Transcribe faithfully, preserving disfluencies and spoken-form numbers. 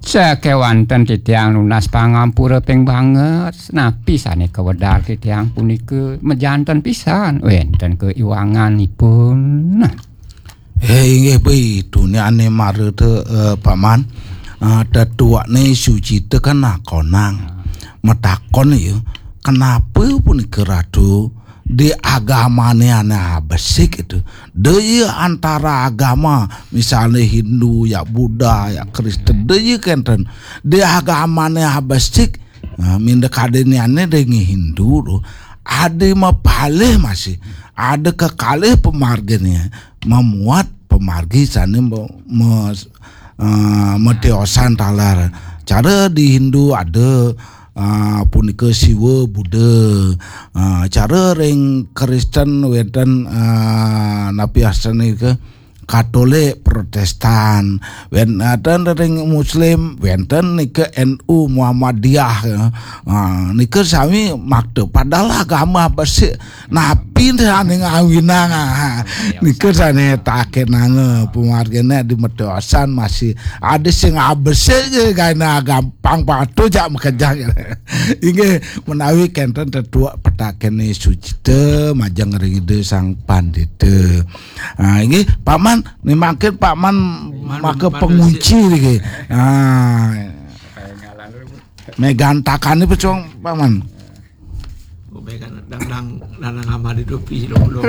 Sakéwanten titiang nunas pangampura ping banget, napi sané kawedar titiang punika majanten pisan wénten kaiwanganipun. Nah. Eh, inggih, Bli, tuniané mara té, eh, Paman. Eh, tetuané Sucita kan nakonang. Matakon ya, kenapa punika Ratu di agamané ané abesik itu? Daya antara agama, misalnya Hindu, ya Buddha, ya Kristen, daya kenten. Di agamané abesik, nah, minda kadéniané dengan Hindu tuh. Ada mapalih masih, ada kekalih pemarginé, memuat pemargi sané me, me, eh, metiosan taler. Cara di Hindu ada, eh, punika Siwa, Buddha. Eh, cara ring Kristen wénten, eh, napi asané ke Katolik, Protestan, wénten ring Muslim, wénten nika N U, Muhammadiyah, ya. Ah, nika sami makta. Padahal agama besik. Napi sané ngawinang, ah. Nika sané takenanga pemarginé di metiosan masih ada sing abesik je gampang patuh jak makejang. Inggih menawi kenten tetuak petakené Sucita majeng ring Ida Sang Pandita. Ah, inggih, Paman, ni mangkin Paman maka pengunci niki. Ah. Megan takane pecong, Paman. Oh, megan dang, dang, dang, dang amadi dopi, lo, lo.